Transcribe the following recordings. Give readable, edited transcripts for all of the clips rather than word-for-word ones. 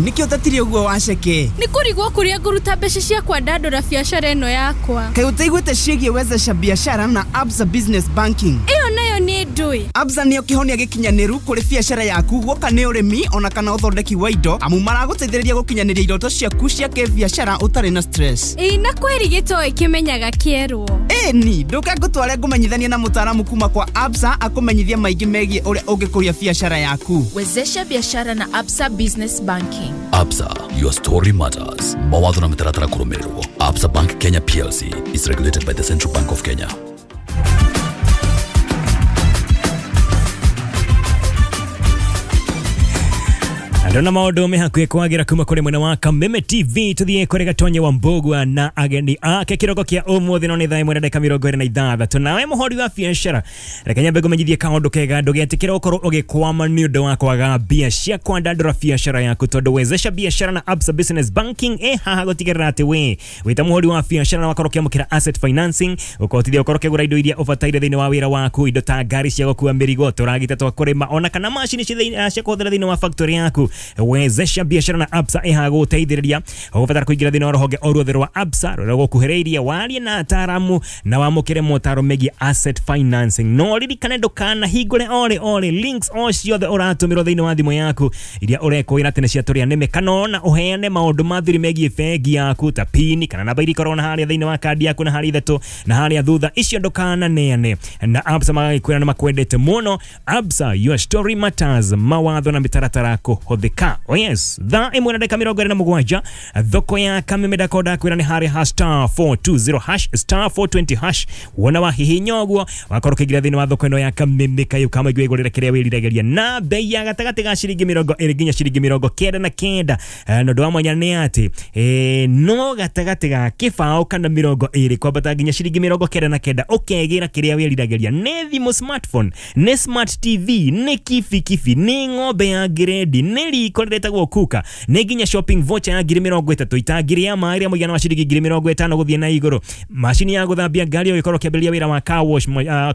Nĩkĩo ũtatire ũguo waceke? Nĩ kũrigwo kũrĩa ngũruta mbeca cia kwandandũra biacara ĩno yakwa. Kaĩ ũtaiguĩte ciĩgiĩ wezesha biashara na Absa Business Banking? Ĩyo nayo nĩ ndũĩ. Absa nĩyo kĩhonia gĩkinyanĩru kũrĩ biacara yaku, guoka nĩ ũrĩmi ona kana ũthondeki wa indo, amu maragũteithĩrĩria gũkinyanĩria iroto ciaku cia kĩbiacara ũtarĩ na stress. Ĩĩ, na kweri gĩtoĩ kĩmenyaga kĩerwo. Ĩni, ndũke ngũtware ngũmenyithanie na mũtaaramu kuma kwa Absa akũmenyithie maingĩ megiĩ ũrĩa ũngĩkũria biacara yaku. Wezesha biashara na Absa Business Banking. Absa, your story matters. Mawatho na mĩtaratara kũrũmĩrĩrwo. Absa Bank Kenya PLC is regulated by the Central Bank of Kenya. Ndona maũndũ me hakuhĩ kwagira kuma kũrĩ mwena wa Kameme TV, tũthiĩ kũrĩ Gatonye wa Mbũgua na ageni ake kĩroko kĩa ũmũthĩ, no nĩ thaa 1:26. Nawe mũhũri wa biacara, reke nyambe ngũmenyithie kaũndũ kega, ndũgetĩkĩre ũkorwo ũgĩkwama nĩ ũndũ wa kwaga mbia cia kwandandũra biacara yaku, tondũ wezesha biacara na Absa Business Banking ĩ haha gũtigĩrĩra atĩ we wĩ ta mũhũri wa biacara na wakorwo ũkĩamũkĩra asset financing, ũkahotithia ũkorwo ũkĩgũra indo iria ũbataire thĩinĩ wa wĩra waku, indo ta ngari cia gũkua mĩrigo, tũragita twa kũrĩma, ona kana macini cia kũhũthĩra thĩinĩ wa factory yaku. Wezesha biacara na Absa ĩhaha gũgũteithĩrĩria. Ũgũbatara kũingĩra thĩinĩ wa rũhonge o ruothe rwa Absa rũrĩa rũgũkuhĩrĩirie, warie na ataaramu na wamũkĩre motaro megiĩ asset financing. No ririkane ndũkanahingũre orĩ orĩ links o ciothe ũratũmĩrwo thĩinĩ wa thimũ yaku iria ũrekwĩra atĩ nĩ cia tũrĩa nĩme, kana ona ũheane maũndũ ma thiri megiĩ bengi yaku ta pini kana namba iria ikoragwo na harĩa thĩinĩ wa kandi yaku na harĩa ithatũ na harĩa thutha, icio ndũkananeane. Na Absa magagĩkwĩra nĩ makwendete mũno. Absa, your story matters. Mawatho na mĩtaratara kũhũthĩka. Oh yes, thaa 1:27, thoko ya Kameme ndakonda kwĩra nĩ harĩa ha star 420 hash, star 420 hash. Wona wahihinya ũguo wakorwo ũkĩingĩra thĩinĩ wa thoko ĩno ya Kameme kayũ kama igwe igũrĩre kĩrĩa wĩriragĩria na bei ya gatagatĩ ga ciringi 20 nginya ciringi 99. Na ũndũ wa mwanya nĩ atĩ no gatagatĩ ga kĩbaũ kana 20 kwambata nginya ciringi 99 ũkegĩra kĩrĩa wĩriragĩria. Nĩ thimũ smartphone, nĩ smart TV, nĩ kibikibi, nĩ ng'ombe ya gredi, nĩ riko rĩretagwo kuka, nĩ nginya shopping voucher ya ngiri 30, itangiri ya maĩ rĩa mũigana wa ciringi ngiri 50 gũthiĩ na igũrũ, macini ya gũthambia ngari ũgĩkorwo ũkĩambĩrĩria wĩra wa car wash,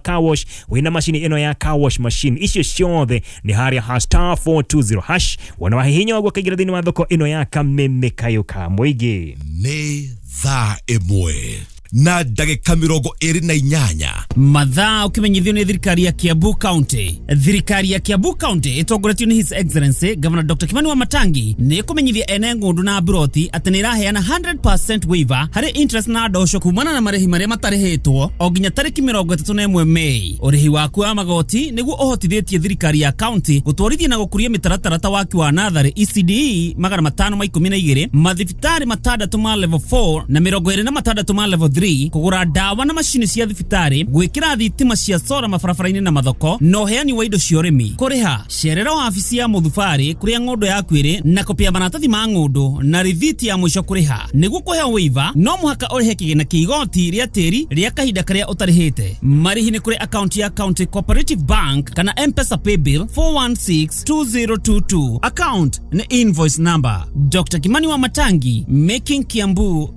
car wash wĩna macini ĩno ya car wash machine, icio ciothe nĩ harĩa ha star 420 hash. Wona wahihinya ũguo ũkaingĩra thĩinĩ wa thoko ĩno ya Kameme kayũ ka mũingĩ. Nĩ thaa 1:28. Mathaa ũkĩmenyithio nĩ thirikari ya Kiambu County. Thirikari ya Kiambu County ĩtongoretio nĩ His Excellency Governor Dr. Kimani Wamatangi nĩ ĩkũmenyithia ene ng'ũndũ na mburoti atĩ nĩ ĩraheana 100% waiver harĩ interest na ndosho kumana na marĩhi marĩa matarĩhĩtwo o nginya tarĩki 31 Mei. Ũrĩhi waku wa magoti nĩguo ũhotithĩtie thirikari ya county gũtwarithia na gũkũria mĩtaratara ta waki wa natharĩ ECDE 512, mathibitarĩ 6 ma level 4 na 26 ma level 3, kũgũra ndawa na macini cia thibitarĩ, gwĩkĩra thitima cia sora mabarabara-inĩ na mathoko, na ũheani wa indo cia ũrĩmi. Kũrĩha cerera wabici ya mũthubarĩ kũrĩa ng'ũndũ yaku ĩrĩ na kopi ya maratathi ma ng'ũndũ na rithiti ya mũico kũrĩha. Nĩguo kũheo waiver no mũhaka ũrĩhe kĩgĩna kĩa igoti rĩa tĩri rĩa kahinda karĩa ũtarĩhĩte. Marĩhi nĩ kũrĩ akaunti ya County Cooperative Bank kana M-Pesa Paybill 4162022. Account nĩ invoice number. Dr. Kimani Wamatangi, making Kiambu